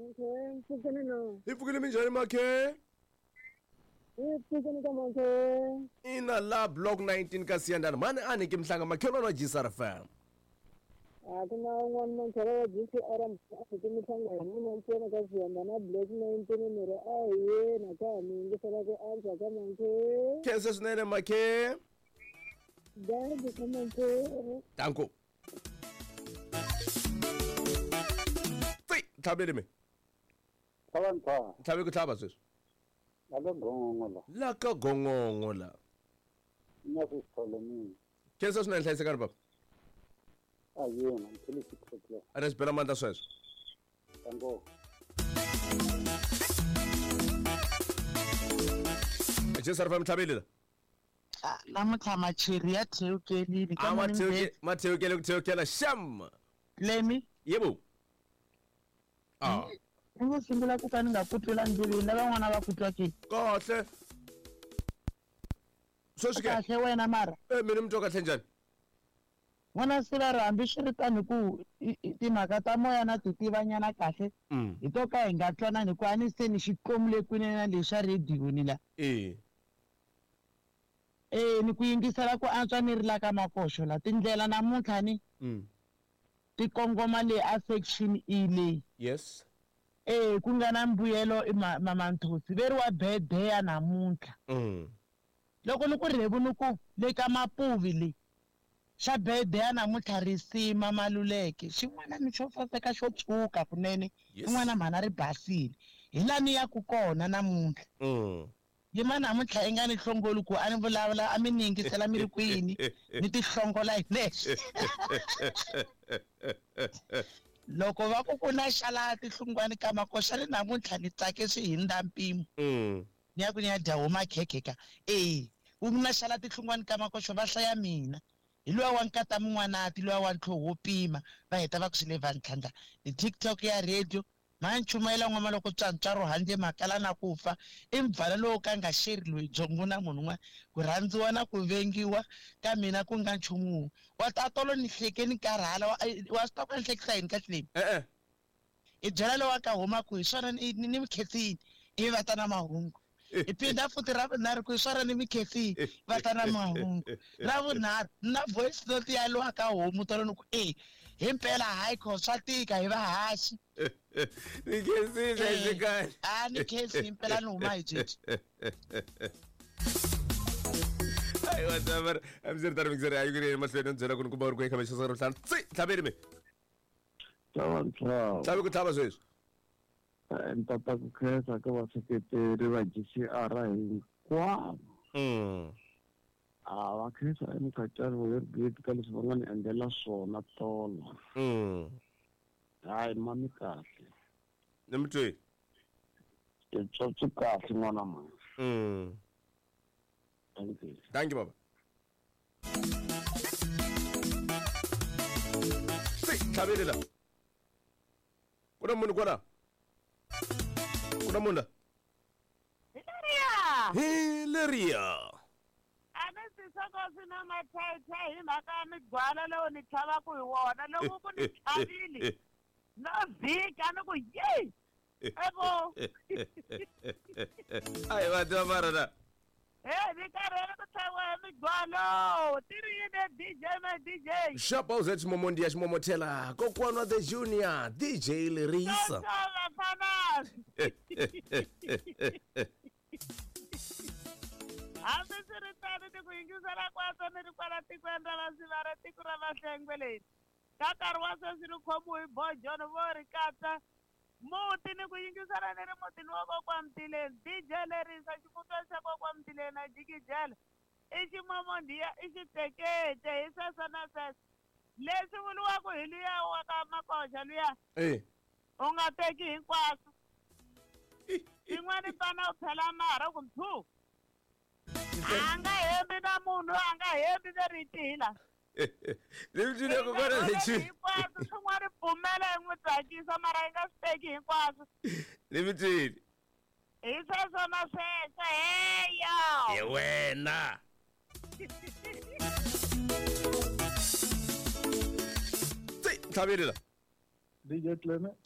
Makhe, mpfukeni no. Hi pfukile minjhani Makhe? Hi pfukeni ka Makhe. Ina la block 19 ka Siyandana. Mani a ni ke mhlanga makhelwani wa GCR FM. A ku na un'wana makhelwa wa GCR a ke mhlanga hi mina ntsena ka Siyandana block 19 ni ri a hi yena ka ha mi yingisela ku antswa ka Makhe. Khensa swinene Makhe. Dankie ka Makhe. Danko. Tsi, tlhavele me. Tlhava ntshwa. Tlhave ku tlhava sweswi. La ka gongongo la. La ka gongongo la. Na swi sithole mina. Khensa swinene hlayisekani baba. A yena, mphele 6 o'clock. A ni swi bela mandla sweswo. Danko. GCR FM tlhavele la. Namuntlha macheri ya thewukelile A ma thewuke ma thewukele ku thewukela sham. Lemi. Yebo. Ah. Ni ngo sungula ku ka ni nga ku twela ndleveni lavan'wana va ku twa ke. Kahle. Sweswi ke. Kahle wena mara. Eh mina mi twa kahle njhani? N'wana siva ri hambi swi ri tano ku timhaka ta moya na ti tivanyana kahle hi to ka hi nga twanani hikuva a ni se ni xi tlomule kwini na lexa radio ni la. Eh. Eh ni ku yingisela ku antswa ni ri la ka makoxo la tindlela namuntlha ni ti kongoma le a section E leyi. Yes. Eh ku nga na mbuyelo i Mama Nthosi ve ri wa bedeya namuntlha. Loko ni ku rhevu ni ku le ka Mapuvi le xa bedeya namuntlha risima Maluleke xin'wana ni xo saseka xo tshuka kunene xin'wana mhana ri basile hi la ni yaku kona namuntlha. Yima namuntlha i nga ni hlongoli ku a ni vulavula a mi ni yingisela mi ri kwini ni ti hlongola hi nexe. Loko va ku ku na xala tihlungwani ka makoxa ni namuntlha ni tsake swi hindza mpimo. Ni ya ku ni ya dya homa khekhe ka e ku na xala tihlungwani ka makoxo va hlaya mina. Hi luya wa nkata mun'wanati luya wa ntlhoho wo pima va heta va ku swi le va ntlhandla ni TikTok ya radio ma nchumayela n'wama loko tswantswaro handle makala na ku fa i mbvala lowu ka nga xeri loyi byongo na munhu un'wana ku rhandziwa na ku vengiwa ka mina ku nga nchumu wun'we wa tatolo ni hleke ni karhala wa swi tiva ku ni hlekisa yini ka tlileni E-e. I byela lowa ka huma ku hi swona ni ni mi khensile ivi va ta na mahungu hi phinda futhi ra vunharhu ku hi swona ni mi khensile va ta na mahungu ra vunharhu na voice note ya lowa ka homu tolo ni ku e himpela hayi kho swa tika hi vahaxi Ni khensile hlayisekani. A ni khensi himpela ni huma hi byebyi. Ayi wa tsamara. Hambiswiritano mixere a yi ku ri emahlweni ni byela ku ni kuma u ri ku eka maxisa ro ntlhanu. Tsi tlhaveni me. Tlhava ntlhava. Tlhavi ku tlhava sweswi. Ni tata ku khensa ka vaseketeri va GCR hinkwavo. A va khensa emukhatshani wa Yergate ka leswi va nga ni endlela swona tolo. Hayi mami kahle. Ni mi twi. Titsotsi kahle n'wana mama. Thank you. Thank you baba. Tsi tlhavele la. Ku na munhu kwala. Ku na munhu la. Hilariya! Hi leriya. A ni swi swi na mathayithayi hi mhaka ya migwala lowu ni tlhavaka hi wona loko ku ni tlhavile no vhika ni ku yeyi evo. Ayi va tiva mara na. He ni karhele ku tlhaviwa hi migwalo ti ri yini DJ my DJ. Xapa uze ximomondiya ximomothela kokwana the junior DJ Lerisa. Vafana. Hambi swi ri tano ni ku yingisela kwaso ni ri kwala tikweni ra vasivara tiko ra vahlengwe leri ka nkarhi wa sweswi ri khomiwe hi bojono vo ri katsa muti ni ku yingisela ni ri mutini wa kokwa Mtileni DJ Lerisa ximutwana xa kokwa Mtileni a jikijela i ximomondiya i xitekete hi sweswo na sweswo leswi vuriwaka hi luya wa ka makoxa luya Eh. u nga teki hinkwaswo swin'wana pana u phela marha ku mphu a nga hembi na munhu a nga hembi ve ri tihila Ni mi twile kokwana lexi. hinkwaswo swin'wana pfumela hi n'wi tsakisa mara yi nga swi teki hinkwaswo. Ni mi twile. Hi sweswo na sweswo heya. Hi wena. Tsi tlhavele la. DJ Clement.